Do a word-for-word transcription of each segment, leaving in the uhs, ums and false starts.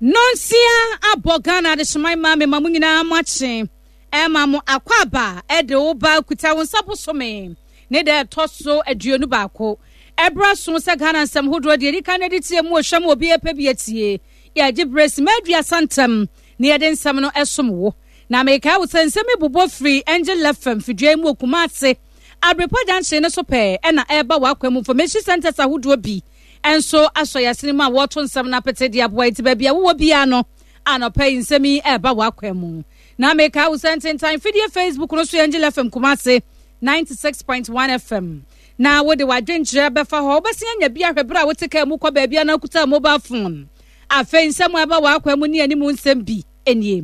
Nonsia abɔ Ghana adehyeman ma mema mo nyinaa mo akye ɛma mo akwaaba ɛde wo ba kuta wo nsa bosome ne da ɛtɔ so aduonu baako ɛberɛ so sɛ Ghana nsɛm hodoɔ deɛ ɛdi kan no de tie mu ɔhwɛ mu obi ɛpɛ bi atie yɛgye berɛ sima aduasa ntam na yɛde nsɛm no ɛsom wo na mekae wo sɛ nsɛm yi bobɔ firi Angel F M fidua mu wɔ Kumase Abrepɔ junction no so pɛɛ ɛna ɛreba w'akwan mu information centers ahodoɔ bi ɛnso asɔ yɛasene mu a wɔto nsɛm no apete de aboa nti baabi a wowɔ biara no anɔpa yi nsɛm yi ɛreba w'akwan mu na mekae wo sɛ ntentan fidie Facebook no so Angel F M Kumase ninety-six point one F M na wode w'adwenkyerɛ bɛfa hɔ wobɛsen anya bi ahwɛ berɛ a wote kaa mu kɔ baabi a na wokuta mobile phone afei nsɛm a ɛba w'akwan mu ne anim nsɛm bi nie.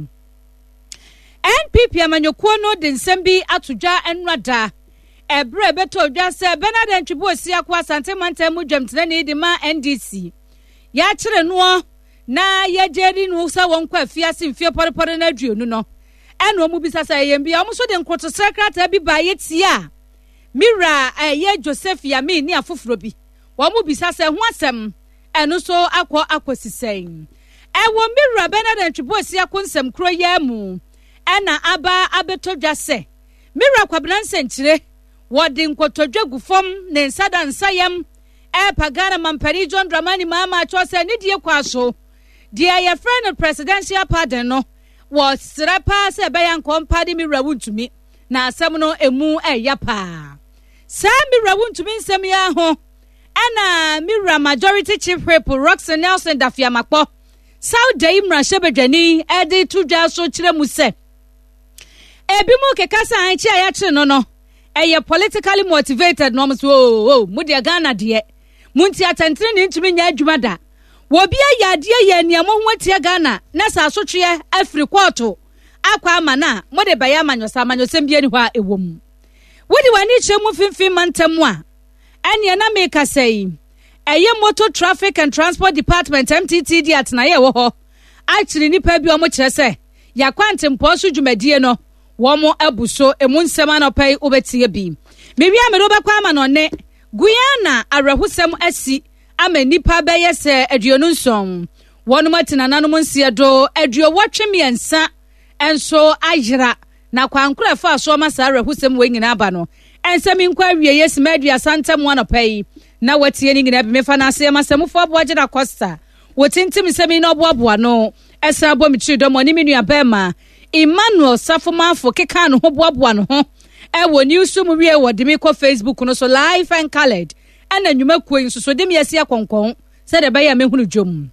N P P amanyɔkuo no de nsɛm bi ato dwa nnora ɛberɛ bɛtɔ dwa sɛ Bernard Antwi Boasiako Asante mantam mu dwamtenani de ma N D C yɛakyere noɔ na yɛgye no sɛ wɔnkɔ afiase mfie pɔrepɔre no aduonu no ɛna ɔmo bisa sɛ ɛyɛ mbia ɔmo nso de nkotosrɛ krataa bi baa yɛtie a Mira ɛyɛ Joseph Yamin ne afoforɔ bi wɔn mo bisa sɛ ho asɛm ɛno nso akɔ akɔsi sɛn ɛwɔ Mira Bernard Antwi Boasiako nsɛm kuro yɛ mu ɛna aba abɛtɔ dwa sɛ Mira Kwabena Nsɛnkyerɛ wɔde nkotodwe gu fam ne nsa da nsayam ɛpa Ghana mampanin John Dramani Mahama atwa sɛ ne die kwa so deɛ yɛfrɛ no presidential pardon no wɔsrɛ paa sɛ ɛbɛyɛ nkɔmpa de Mira Wontumi na asɛm no emu ɛyɛ paa saa Mira Wontumi nsɛm yi ho ɛna Mira majority chief whip Roxanne Nelson Dafiamakpɔ Saudi mmarahyɛbadwani ɛde to dwa so kyerɛ mu sɛ ebi mu keka sɛ ankye a yɛakyere no no ɛyɛ politically motivated na ɔmo so oo oo mo deɛ Ghana deɛ mo nti atɛntene ne ntumi nyɛ adwuma da wɔbi ayɛ adeɛ yɛ nea mo ho atia Ghana na sɛ asotweɛ afiri kɔɔto akɔ ama na mo de bɛyɛ amanyɔsɛ amanyɔsɛm bi ani hɔ a ɛwɔ mu wode w'ani kyerɛ mu mfimfini mantam a ɛneɛ na meka sɛ yi ɛyɛ Motor Traffic and Transport Department M T T D atenaeɛ ɛwɔ hɔ akyere nnipa bi ɔmo kyerɛ sɛ yɛakwantempɔn so dwumadie no wɔn abu so emu nsɛm anɔpa yi wobɛtie bi mewia mede wobɛkɔ ama no ne Guyana awerɛhosɛm asi ama nnipa bɛyɛ sɛ aduonu nson wɔnom atena nananom nseɛ do aduowɔtwe mmiɛnsa nso ayera na kwankora ɛfa so ama saa awerɛhosɛm wɔ nyinaa ba no ɛnsɛm nkɔ awie yɛ sima aduasa ntam anɔpa yi na watie ne nyinaa bi mefa no ase ma sɛmufo aboa gyina Costa wɔtintim nsɛm yi na ɔboaboa no ɛsan bɔ me tiri dɔm ɔne me nua bɛrima Emmanuel Safomafo keka no ho boaboa no ho ɛwɔ news mu wie wɔ de me kɔ Facebook no so live and colored ɛna nnwumakuo yi nso so de me asi akɔnkɔn sɛdeɛ ɛbɛyɛ a mehunu dwom.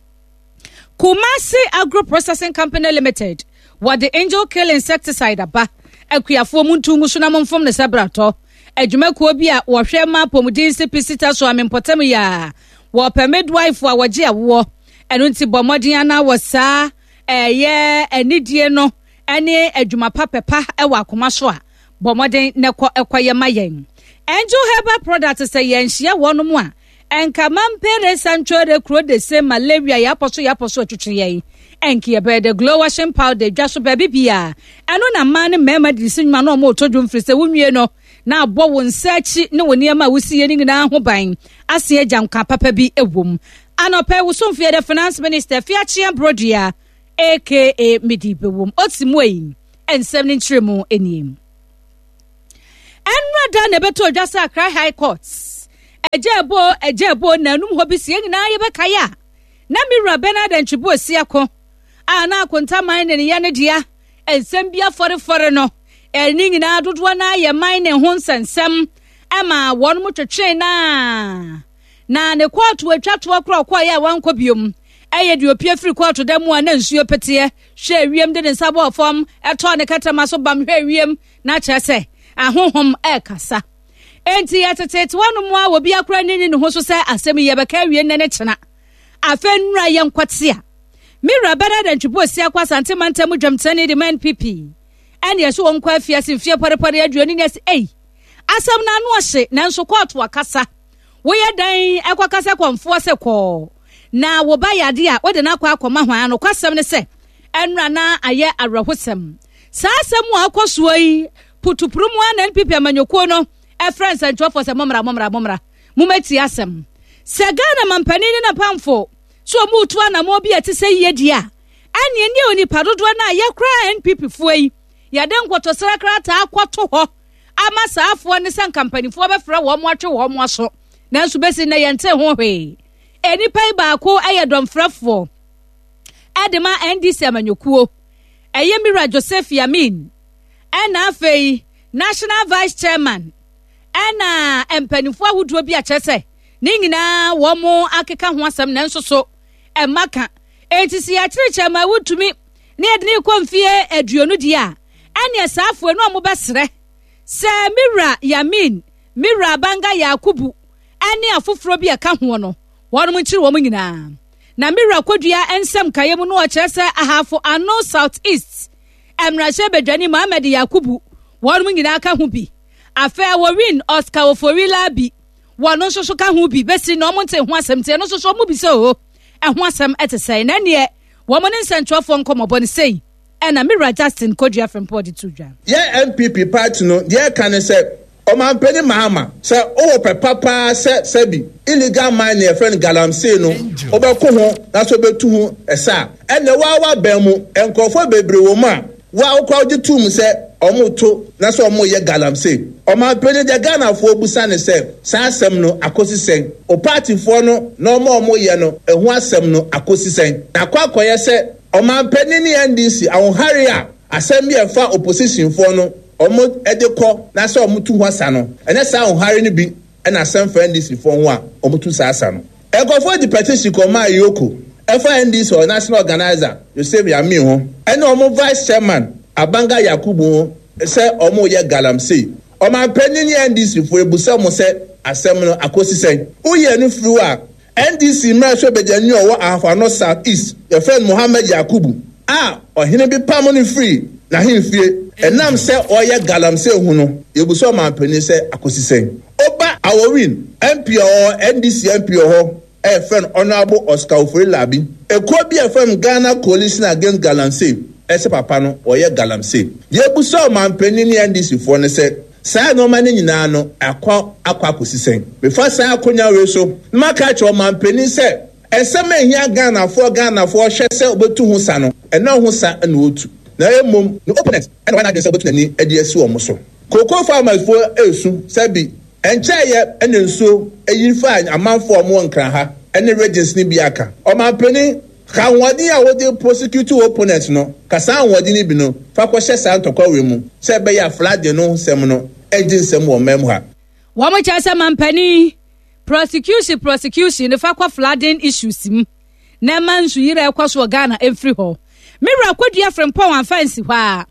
Kumasi Agro Processing Company Limited wɔde Angel Kill insecticide aba akuafoɔ mu ntu ngu so na momfom ne sɛ bratɔ adwumakuo bi a wɔhwɛ ma apɔmuden si pisita so amempɔtam yi a wɔpɛ midwife a wɔgye awoɔ ɛno nti bɔ mmɔden ana wɔ saa ɛyɛ anidie no ɛne adwuma pa pɛpa ɛwɔ akoma so a bɔ mmɔden na ɛkɔ ɛkɔyɛ ma yɛn. Angel Herbal Product sɛ yɛnhyia wɔn mu a ɛnka mampere sanchore kuro de se malaria yɛapɔ so yɛapɔ so atwitwe yɛn ɛnka yɛbɛyɛ de glow washing powder dwa so baabi bia ɛno na mmaa ne mmarima de si nnwuma na ɔmo retɔ dwom firi sɛ wonwie no na abɔ wo nsa akyi ne wo nneɛma a wosi yɛ ne nyinaa ho ban ase agya nka papa bi ɛwɔ mu anɔpɛ wosomfo yɛ de finance minister Fiachia Brodua aka Midi Bewom oti mu yi nsɛm ne nkyerɛ mu nie ɛnra da na ɛbɛtɔ dwa sɛ Accra High Court ɛgya ɛbo ɛgya ɛbo na anum hɔ bi sie nyinaa yɛbɛkae a na Mira Bernard Antwi Boasiako a na akontaman ne ne yɛ ne dea nsɛm bi afɔrefɔre no ɛne nyinaa dodoɔ na yɛ man ne ho nsɛnsɛm ɛma wɔn mo twetwe na na ne kɔɔto atwa toɔ korɔ kɔɔ yɛ a wankɔ biom ɛyɛ deɛ opie firi kɔɔto da mu a na nsuo peteɛ hwɛ ewiem de ne nsa bɔɔ fam ɛtɔɔ ne kɛtɛma so bam hwɛ ewiem na kyerɛ sɛ ahohom ɛrekasa enti yɛtetete wɔn mu a obi akora ne ne ho so sɛ asɛm yi yɛbɛka awie nnɛ ne kyena afei nnura yɛ nkɔte a Mira Bernard Antwi Boasiako Asante mantam dwamtenani de ma N P P ɛne ɛso wɔn kɔ afiase mfie pɔrepɔre aduonu ne ɛsɛ ei asɛm no ano ɔhye nanso kɔɔto akasa woyɛ dan ɛkɔkasa kɔmfoɔ sɛ kɔɔ na wo ba yade a wode no akɔ akɔma hwan ano kwasɛm ne sɛ ɛnura na ayɛ awerɛhosɛm saa asɛm a akɔ soɔ yi putupuru mu a na N P P amanyɔkuo no ɛfrɛ nsɛntwerɛfoɔ sɛ mommra mommra mommra mommɛtie asɛm sɛ Ghana mampanin ne n'apamfo so ɔmo tu anammɔn bi a ɛte sɛ yie di a Ɛneɛ ne onipa dodoɔ no a yɛkora N P P foɔ yi, yɛde nkotosrɛ krataa akɔto hɔ ama saafoɔ ne sɛ nkampanimfoɔ bɛfrɛ wɔn mo atwe wɔn mo aso, nanso bɛsi nnɛ yɛnte ho hwee. Enipa yi baako yɛ dɔmfrɛfoɔ ɛde ma N D C amanyɔkuo, ɛyɛ Mira Joseph Yamin, ɛna afei National Vice Chairman, ɛna mpanimfoɔ ahodoɔ bi akyerɛ sɛ ne nyinaa wɔn mo akeka ho asɛm, nanso so ɛma ka. Eti si yɛakyerɛkyerɛ ma wotumi ne yɛde ne kɔ mfie aduonu deɛ a, ɛneɛ saafoɔ no a wɔbɛsrɛ sɛ Mira Yamin, Mira Banga Yakubu ɛne afoforɔ bi a ɛka ho no, wɔn nkyere wɔn nyinaa. Na Mira Kodua nsɛm kaeɛ mu no, ɔkyerɛ sɛ Ahafo Ano South East mmarahyɛ badwani Mohammed Yakubu, wɔn nyinaa ka ho bi. Afei wɔwin Oscar Ofori Labi, wɔn nso so ka ho bi. Bɛsi na wɔn nte ho asɛm tie no nso so wɔn bi sɛ o ɛho asɛm ɛte sɛn, na neɛ wɔn ne nsɛntwerɛfoɔ nkɔmmɔbɔ no sei ɛna Mira Justin Kodua Frimpong de to dwa. Yɛ N P P party no, deɛ ɛka ne sɛ Ɔmampanin Mahama, sɛ wowɔ pɛ papaa sɛ sɛbi illegal mine yɛfrɛ no galamsey no wobɛko ho na sɛ wobɛtu ho ɛsɛ a, ɛnɛ waa wabɛn mu nkurɔfoɔ bebree wɔ mu a waa wokora wogye tum sɛ ɔmo to na sɛ ɔmo yɛ galamsey. Ɔmampanin, deɛ Ghanafoɔ busa ne sɛ, saa asɛm no akɔsi sɛn? O partyfoɔ no na ɔmo a ɔmo yɛ no, ɛho asɛm no akɔsi sɛn? Na akɔ akɔyɛ sɛ Ɔmampanin ne N D C ahohare a asɛm bi a ɛfa oppositionfoɔ no ɔmo de kɔ na sɛ ɔmo tu ho asa no, ɛnyɛ saa ahohare no bi ɛna asɛm fa N D C foɔ ho a ɔmo tu saa asa no. Nkurɔfoɔ de petition kɔmaa EOCO ɛfa N D C ɔ national organizer Joseph Yamin ho ɛne ɔmo vice chairman Abanga Yakubu ho sɛ ɔmo yɛ galamsey. Ɔmampanin ne N D C foɔ, ebusa mo sɛ asɛm no akɔsi sɛn? Woyɛ no firi hɔ a, N D C mmarahyɛ badwani a ɔwɔ Ahafo South East, yɛfrɛ no Mohammed Yakubu, a ɔhene bi pam no firi n'ahemfie ɛnam sɛ ɔyɛ galamsey ho no, yɛbusa ɔmampanin sɛ akɔsi sɛn? Ɔba Awowin M P a ɔwɔ N D C M P wɔ hɔ ɛyɛfrɛ no Honourable Oscar Ofori Labi, ekuo bi a yɛfrɛ no Ghana Coalition Against Galamsey ɛsɛ papa no ɔyɛ galamsey. Yɛbusa ɔmampanin ne N D C foɔ no sɛ saa nneɛma no nyinaa no akɔ akɔ akɔsi sɛn? Mefa saa akonnwa wei so na maka akyerɛ ɔmampanin sɛ ɛsɛm a ehia Ghanafoɔ, Ghanafoɔ hwɛ sɛ obetu ho sa no, ɛna ho sa na otu, na emom ne opponent ɛna wɔn adwene sɛ obetu n'ani de asi wɔn so. Cocoa farmers foɔ esu sɛbi nkyɛn ɛna nsuo eyi fa amanfoɔ a wɔwɔ Nkran ha ɛne regions ne bi aka. Ɔmampanin, ka ahoɔden a wɔde prosecute opponent no, ka saa ahoɔden no bi no fa kɔhyɛ saa ntɔkwa wei mu sɛ ɛbɛyɛ a flooding no nsɛm no ɛgye nsɛm wɔ mmaa mu ha. Wɔn kyerɛ sɛ mampanin, prosecution prosecution ne fa kɔ flooding issues mu na ɛma nsuyiri a ɛkɔ so wɔ Ghana mfiri hɔ. Mewura Kodua Frimpɔn amfa nsi hɔ a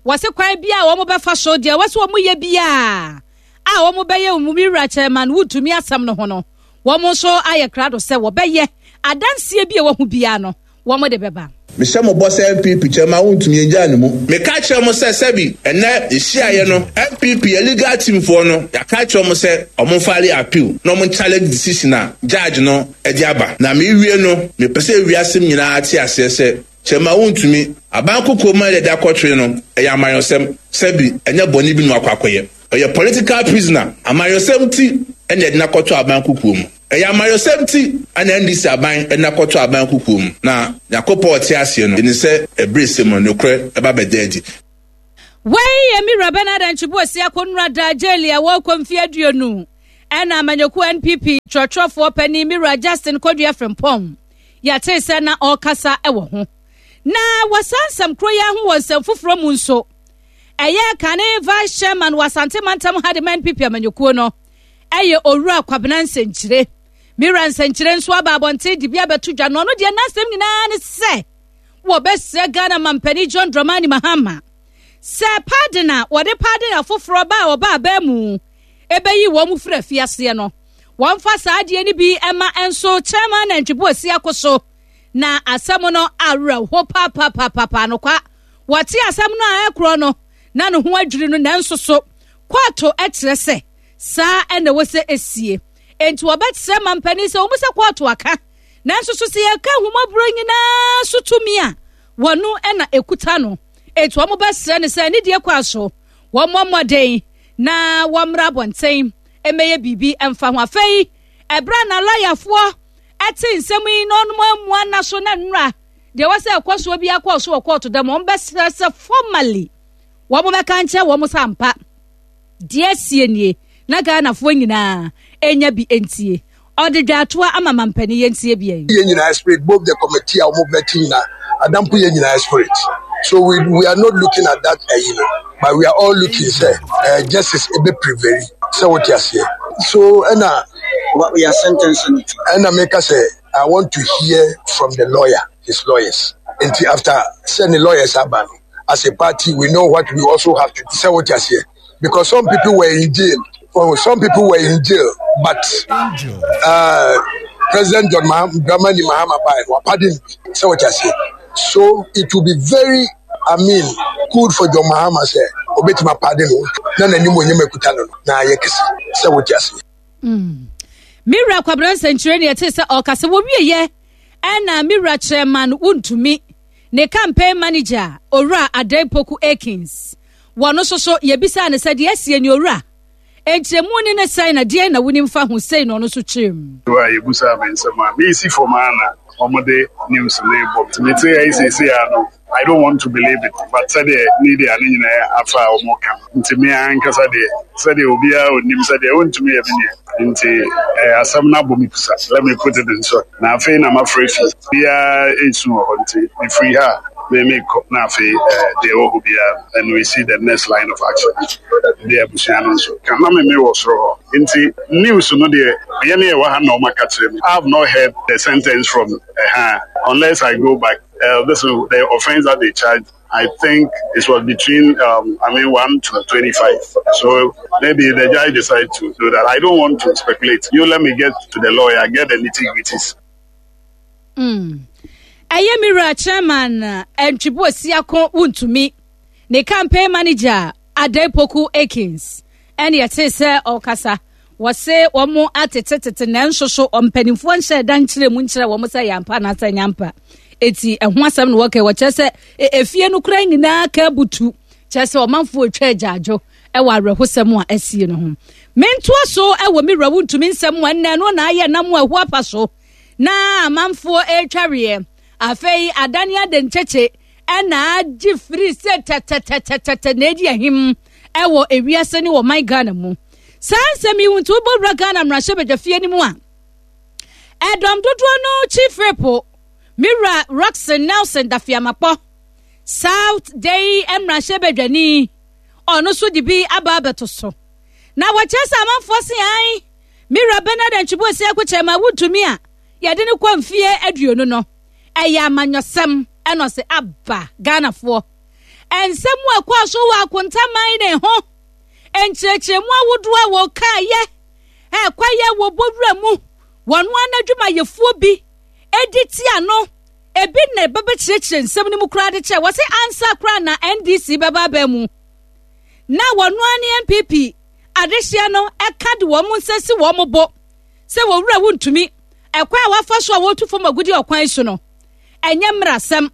wɔse kwan bi a wɔn bɛfa so deɛ wɔsɛ wɔn yɛ biara a wɔn bɛyɛ wɔn mewura Chairman Wontumi asɛm no ho no, wɔn nso ayɛ krado sɛ wɔbɛyɛ adanseɛ bi a wɔho biara no, wɔn de bɛba. Mehyɛ mo bɔ sɛ N P P Chairman Wontumi ngyaa ne mu. Meka kyerɛ mo sɛ sɛbi ɛnɛ yɛhyiaeɛ no, N P P yɛ legal team foɔ no, yɛaka kyerɛ mo sɛ ɔmo file appeal na ɔmo challenge decision a judge no ɛde aba. Na mewie no, mepɛ sɛ ewiase nyinaa te aseɛ sɛ Chairman Wontumi aban koko mu a yɛde akɔtwere no, ɛyɛ amayɔsɛm. Sɛbi ɛnyɛ bɔne bi no akɔ akɔyɛ, ɔyɛ political prisoner. Amayɔsɛm ti ɛna yɛde n'akɔtɔ aban kukuo mu. Ɛyɛ amayɔsɛm ti ɛna N D C aban ɛde n'akɔtɔ aban kukuo mu. Na Nyakopɔn ɔte aseɛ no ɛni sɛ ɛbere sɛ mu nokorɛ ɛba bɛda adi. Wei yɛ Mira Bernard Antwibu Osi akɔnura da jail a wɔrekɔ mfe aduonu, ɛna amanyɔkuo N P P twerɛtwerɛfoɔ panin Mira Justin Kodua Frimpɔn yɛte sɛ na ɔrekasa wɔ ho. Na wɔ saa nsɛm koro yi ho wɔ nsɛm foforɔ mu nso, ɛyɛ kane vice chairman wɔ Asante mantam ha de ma N P P amanyɔkuo no, ɛyɛ Owura Kwabena Nsɛnkyire. Mira Nsɛnkyire nso aba abɔnten de bi abɛto dwa, na ɔno deɛ n'asɛm nyinaa ne sɛ wɔbɛsrɛ Ghana mampanin John Dramani Mahama sɛ pardon a wɔde pardon afoforɔ ba a ɔba abɛn mu ɛbɛyi wɔn mu firi afiaseɛ no, wɔmfa saa adeɛ no bi ɛma nso Chairman Nantwibo asi ako so. Na asɛm no awerɛho paapaapaapaa no kwa, wɔte asɛm no a ɛkorɔ no na ne ho adwiri no, nanso so kɔɔto kyerɛ sɛ saa ɛna ɛwɔ sɛ esie, nti wɔbɛkyerɛ mampanin sɛ wɔn sɛ kɔɔto aka, nanso so sɛ yɛka ahomɔborɔ nyinaa so tumi a wɔno ɛna ekuta no, etu wɔn bɛsrɛ no sɛ ne deɛ kɔ aso wɔn mmɔ mmɔden na wɔmmra abɔnten mmɛyɛ biribi mfa ho. Afei ɛberɛ na lɔyafoɔ ɛte nsɛm yi na ɔnom amua na so na nnura Deɛ wɔ sɛ ɛkɔ soɔ bi akɔ so wɔ kɔɔto dɛm, wɔn bɛsrɛ sɛ formally wɔn bɛka nkyɛn wɔn sɛ ampa deɛ asie nie na Ghanafoɔ nyinaa enya bi ntie. Ɔde dwatoa ama mampanin, yɛntie bi yi. Yɛn nyinaa spirit, both the committee a wɔn bɛti nyinaa adampo, yɛn nyinaa spirit. So we we are not looking at that ɛyi uh, no, but we are all looking sɛ uh, justice ebe prevail, sɛ wɔte aseɛ. So ɛna What we are sentencing it. Ɛna meka sɛ I want to hear from the lawyer, his lawyers. Nti after sɛ ne lawyers aba no, as a party we know what we also have to, sɛ wɔte aseɛ, because some people were in jail. Oh, some people were in jail, but uh, President John Dramani Mahama by pardon, sɛ wɔte aseɛ. So it will be very, I mean, good for John Mahama sɛ obetuma pardon no na n'anim onyam ekuta no na ayɛ kɛse, sɛ wɔte aseɛ. Mm. Mewura Kwabena Nsɛnkyerɛ ne ɛte sɛ ɔkasa wɔwieyɛ, ɛna mewura Chairman Wontumi ne campaign manager, Owura Adan Poku Akins, wɔno nso so yɛbisaa no sɛ deɛ asie ne owura nkyerɛmu ne ne sɛn na deɛn na wonim fa ho sei, na ɔno nso kyerɛ mu. A yɛbusaa me nsɛm a meesi fam a na wɔde news ne bɔ nti mete ha yi seesei a no, I don't want to believe it, but sɛdeɛ media ne nyinaa afa a wɔn ka nti me ankasa deɛ, sɛdeɛ obiara onim sɛdeɛ wɔntumi yɛ me nea nti ɛɛ asɛm no abɔ me pusa. Let me put it in short, na afei na mafrɛ fi biara esu wɔ hɔ nti mefiri ha a me mekɔ na afei ɛɛ deɛ ɛwɔ hɔ biara, and we see the next line of action. Deɛ abusua no nso ka na me me wɔ soro hɔ nti news no deɛ yɛn ne yɛwɔ ha na ɔma ka kyerɛ me. I have not heard the sentence from uh, unless I go back. Uh, this is the offense that they charged. I think it was between, um, I mean, one to twenty-five. So maybe the judge decided to do that. I don't want to speculate. You let me get to the lawyer, get the nitty-gritties. Mm. Ɛyɛ me wura Chairman Antwibu Asiako Wontumi ne campaign manager Adepoku Akins ɛne ɛte sɛ ɔkasa. Wɔse wɔn atetetete, nanso so mpanimfoɔ nhyɛ da nkyerɛ mu nkyerɛ wɔn sɛ yɛampa anaasɛ nyampa. Eti ɛho asɛm na wɔka, wɔkyerɛ sɛ efie no kora nyinaa ka butu, kyerɛ sɛ ɔmanfoɔ atwa agyaadwo ɛwɔ awerɛhosɛm a asie no ho. Mentoa so ɛwɔ me wura Wontumi nsɛm a ɛnnɛ no na ayɛ nam a ɛho apa so na amanfoɔ ɛretwareɛ. Afei adane ade nkyekye ɛna agye firi sɛ tɛtɛtɛtɛtɛ na edi ahim ɛwɔ ewiase ne wɔ man Ghana mu. Saa nsɛm yi nti, wobɔwura Ghana mmarahyɛbadwafie no mu a, ɛdɔm dodoɔ no chief whip, mewura Rockson Nelson Dafeamakpɔ, South Dayi mmarahyɛbadwani, ɔno nso de bi aba abɛto so na wɔkyerɛ sɛ amanfoɔ se an mewura Bernard Antwi Boasiako Chairman Wontumi a yɛde no kɔ mfie aduonu no ɛyɛ amanyɔsɛm. Ɛna ɔsɛ aba Ghanafoɔ nsɛm a ɛkɔɔ so wɔ akontaman ne ho nkyerɛkyerɛmu ahodoɔ a wɔkaayɛ ɛkɔyɛ wɔ bɔwura mu, wɔn anadwumayɛfoɔ bi edi tia no, ebi na ɛbɛbɛkyerɛkyerɛ nsɛm no mu koraa de kyerɛ. Wɔsi ansa koraa na N D C bɛba abɛn mu na wɔn ne N P P adehyeɛ no ɛka de wɔn nsa si wɔn bo sɛ wɔwura Wontumi ɛkwan a wafa so a wɔtu fam agudi ɔkwan so no ɛnyɛ mmerasɛm.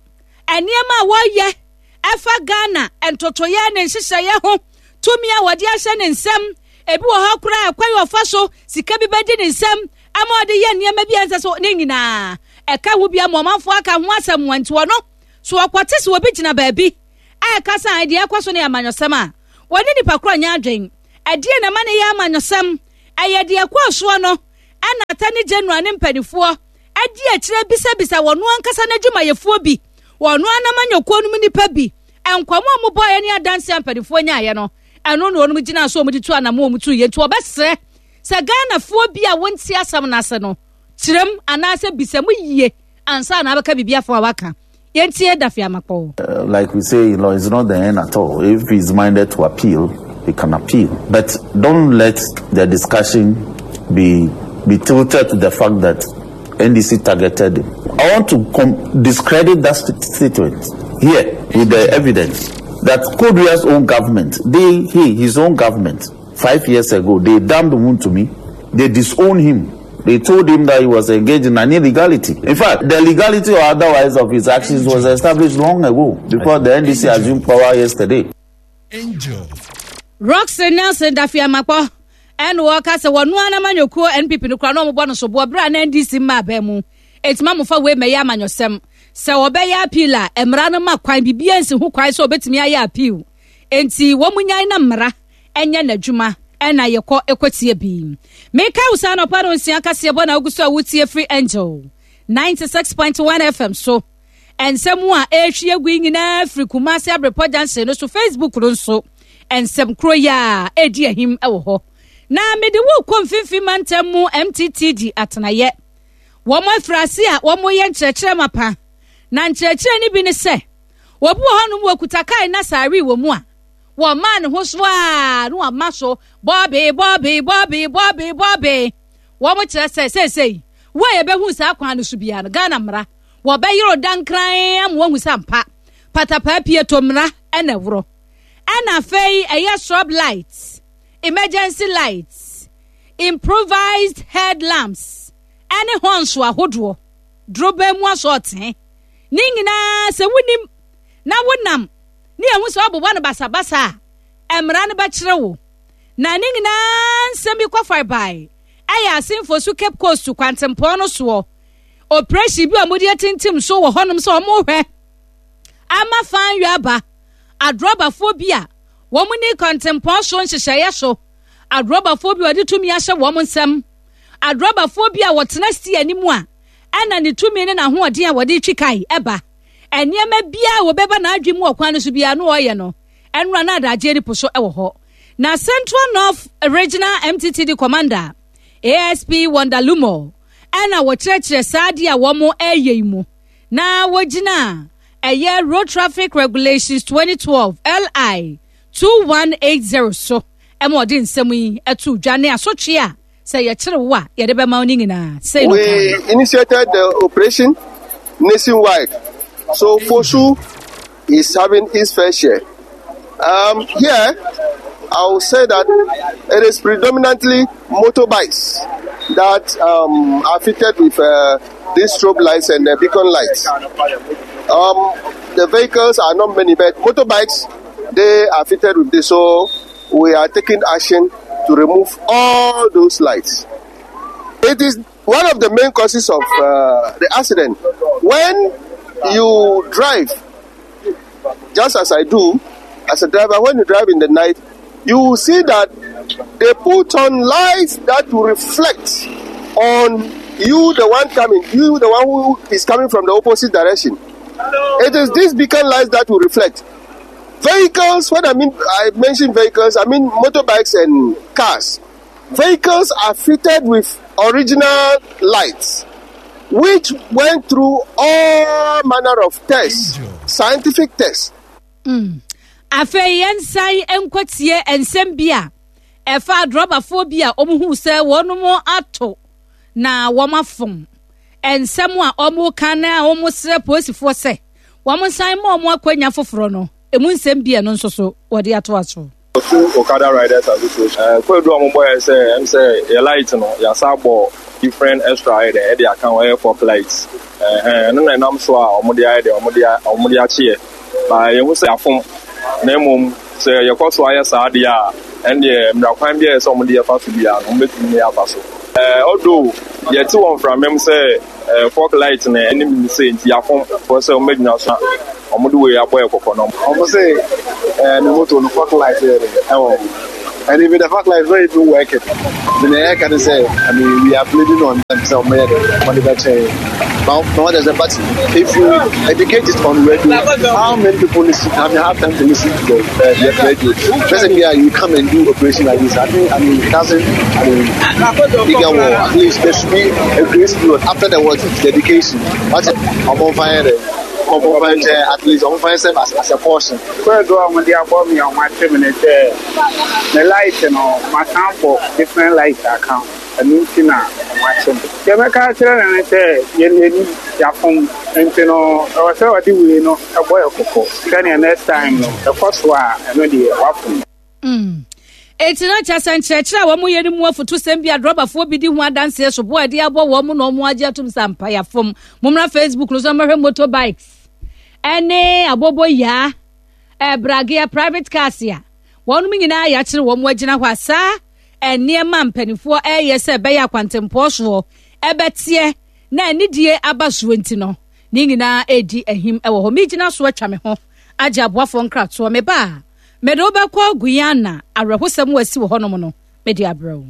Nneɛma a wɔyɛ ɛfa Ghana ntotoyɛ ne nhyehyɛeɛ ho, tumi a wɔde ahyɛ ne nsam, ebi wɔ hɔ koraa ɛkwan a ɔfa so sika bi bɛdi ne nsam ama ɔde yɛ nneɛma bi a ɛnsɛ so ne nyinaa ɛka ho bi ama ɔmanfoɔ aka ho asɛm wɔn. Nti wɔno so wɔkɔte sɛ obi gyina baabi a ɛka sɛ deɛ ɛkɔ so no yɛ amanyɔsɛm a, wɔne nipa korɔ nyɛ adwen. Ɛdeɛ na ɛma ne yɛ amanyɔsɛm, ɛyɛ deɛ ɛkɔɔ soɔ no ɛna Attorney General ne mpanimfoɔ adi akyerɛ bisabisa wɔn ankasa n'adwumayɛfoɔ bi, wɔn anamanyɔkuo no mu nipa bi, nkɔmɔ a wɔbɔɔyɛ ne adanse a mpanimfoɔ nyaayɛ no, ɛno na wɔn gyina so wɔn de tu anam wɔn tu yɛ. Nti wɔbɛsrɛ sɛ Ghanafoɔ bi a wɔnti asɛm n'ase no kyerɛm anaasɛ bisa mu yie ansa na abɛka biribi afɔ a waka. Yɛntie Dafeamakpɔ. Uh, like we say, you know, it's not the end at all. If he's minded to appeal, he can appeal. But don't let the discussion be be tilted to the fact that N D C targeted him. I want to com- discredit that st- statement here with the evidence that Kodria's own government, they, he, his own government, five years ago, they damned Wontumi, they disowned him. They told him that he was engaged in an illegality. In fact, the legality or otherwise of his actions was established long ago before the N D C assumed power yesterday. Angel. Rockson Nelson Dafeamakpɔ ɛna wɔka sɛ wɔn anamanyɔkuo N P P no kora na wɔn bɔ no soboɔ berɛ a na N D C mmaa bɛn mu. Enti ma mofa wei mɛyɛ amanyɔsɛm. Sɛ wɔbɛyɛ appeal a, mmara no ma kwan, biribiara nsi ho kwan sɛ wɔbɛtumi ayɛ appeal. Enti wɔn nyae na mmara ɛnyɛ n'adwuma ɛna yɛkɔ ɛkɔtie bi. Meka wo saa anɔpa no nsia kaseɛ bɔ na wogu so a wotie firi Angel ninety-six point one F M so. Nsɛm a ɛrehwie agu yi nyinaa firi Kumase Abrepɔ Junction no so. Facebook no nso, nsɛm koro yi a ɛredi ahim wɔ hɔ. Na mede wo kɔ Mfimfini Mantam mu M T T D atenayɛ. Wɔn afiri ase a wɔyɛ nkyerɛkyerɛ mapa, na nkyerɛkyerɛ no bi ne sɛ wɔbi wɔ hɔnom wɔkuta kae na saare wɔ mu a wɔmaa ne ho so a na wɔama so bɔɔbe bɔɔbe bɔɔbe bɔɔbe bɔɔbe. Wɔn kyerɛ sɛ seesei wo a yɛbɛhu saa kwan no so biara no, Ghana mmara wɔbɛyere dankran ama wɔahu sɛ ampa patapaa pie to mmara ɛna ɛworɔ. Ɛna afei ɛyɛ strobe lights, emergency lights, improvised headlamps ɛne horns ahodoɔ, dorobɛn mu asɔɔtee ne nyinaa, sɛ wonim na wonam ne yɛhu sɛ ɔbobɔ no basabasa a, mmara no bɛkyerɛ wo. Na ne nyinaa nsɛm bi kɔ farebae ɛyɛ Assin Fosu Cape Coast kwantempɔn no soɔ operation bi a wɔde atintim so wɔ hɔnom sɛ wɔrehwɛ ama fan yɔ aba adrɔbafoɔ bi a wɔn ne kwantempɔn so nhyehyɛeɛ so, adrɔbafoɔ bi a wɔde tumi ahyɛ wɔn nsam, adrɔbafoɔ bi a wɔtena si anim a ɛna ne tumi ne n'ahoɔden a wɔde twi kae ɛba nneɛma biara a wɔbɛba n'adwene mu wɔ kwan no so biara no ɔyɛ no ɛnora na adagye ne po so ɛwɔ hɔ. Na Central North Regional M T T D Commander, A S P Wonder Lumo, ɛna wɔkyerɛkyerɛ saa adeɛ a wɔn ɛreyɛ yi mu na wɔgyina ɛyɛ Road Traffic Regulations twenty twelve L I two one eight zero so ɛma ɔde nsɛm yi ɛto dwa ne asotwe a sɛ yɛkyere wo a yɛde bɛma wo no nyinaa sei no. We initiated the operation nationwide. So Fosu is having its fair share. Um, here, I will say that it is predominantly motorbikes that um, are fitted with uh, these strobe lights and the beacon lights. Um, the vehicles are not many, but motorbikes, they are fitted with this. So we are taking action to remove all those lights. It is one of the main causes of uh, the accident. When you drive, just as I do, as a driver, when you drive in the night, you will see that they put on lights that will reflect on you, the one coming, you, the one who is coming from the opposite direction. It is these beacon lights that will reflect. Vehicles, when I mean I mention vehicles, I mean motorbikes and cars. Vehicles are fitted with original lights, which went through all manner of tests, scientific tests. Mm. Afei yɛnsan nkɔtie nsɛm bi a ɛfa adrɔbafoɔ bi a wɔn hu sɛ wɔn ato na wɔn afom, nsɛm a wɔn ka na wɔn srɛ polisifoɔ sɛ wɔn nsan ma wɔn akɔnya foforɔ no, emu nsɛm bi a ɛno nso so wɔde ato aso. Osu Okada Riders Association. Ɛɛ kwedu a wɔn bɔ yɛ sɛ ɛm sɛ yɛ light no yasa bɔ different extra ayɛ dɛ ɛde aka ho, ɛyɛ fog light. Ɛhɛn, ɛno na ɛnam so a wɔn de ayɛ dɛ wɔn de wɔn de akyeɛ. Ba yɛn ho sɛ afom, na mmom sɛ yɛkɔ so ayɛ saa adeɛ a, ɛndeɛ mmara kwan bi a ɛyɛ sɛ wɔn de yɛfa so biara no, wɔn bɛtumi ne yɛ so. Ɛɛ although yɛte wɔ mframam sɛ ɛɛ fog light na ɛnim ne sɛ nti yɛafom fɔ sɛ wɔn bɛgyina so a wɔn de wei abɔ yɛ kɔkɔ no. Wɔn sɛ ɛɛ ne moto no fog light yɛ dɛ ɛwɔ ho, and even the fog light is not even working. The na yɛ ka ne sɛ, I mean, we are pleading on them sɛ wɔn yɛ dɛ wɔn de bɛ kyɛn now now there's a, but if you educate it on radio, how many people listen? I mean, have time to listen to the uh, the radio? Basically, uh, you come and do operation like this. I think, I mean, it doesn't, I mean, bigger war. At least there should be a grace period after the what, dedication. What I'm on fire there. At least ɔmo fa sɛ as as a portion. Kwedu a wɔde abɔ me a wɔate me ne sɛ me light no masan bɔ different light aka ho, ɛno nti na wɔakye me. Deɛ mɛka akyerɛ no ne sɛ yɛn ani yɛafom, nti no ɛwɔ sɛ ɔde wei no ɛbɔ yɛ kɔkɔ sɛnea next time no ɛkɔ so a, ɛno deɛ wafom. Mm. Eti na kyerɛ sɛ nkyerɛkyerɛ a wɔn yɛ no mu afotusɛm bi a drɔbafoɔ bi di ho adanseɛ so boa ɛde abɔ wɔn na wɔn agye atum sɛ ampa yɛafom. Mommra Facebook no so mmɛhwɛ motorbikes ɛne aboboyaa, ɛbragea, private cars a wɔn nyinaa yɛakyerɛ wɔn agyina hɔ a saa nneɛma mpanimfoɔ ɛreyɛ sɛ ɛbɛyɛ akwantempɔn soɔ ɛbɛteɛ. Na anidie aba soɔ nti no, ne nyinaa redi ahim wɔ hɔ. Megyina so atwa me ho agye aboafoɔ nkratoɔ. Meba a, mede wo bɛkɔ Guyana, awerɛhosɛm a asi wɔ hɔnom no, mede abrɛ wo.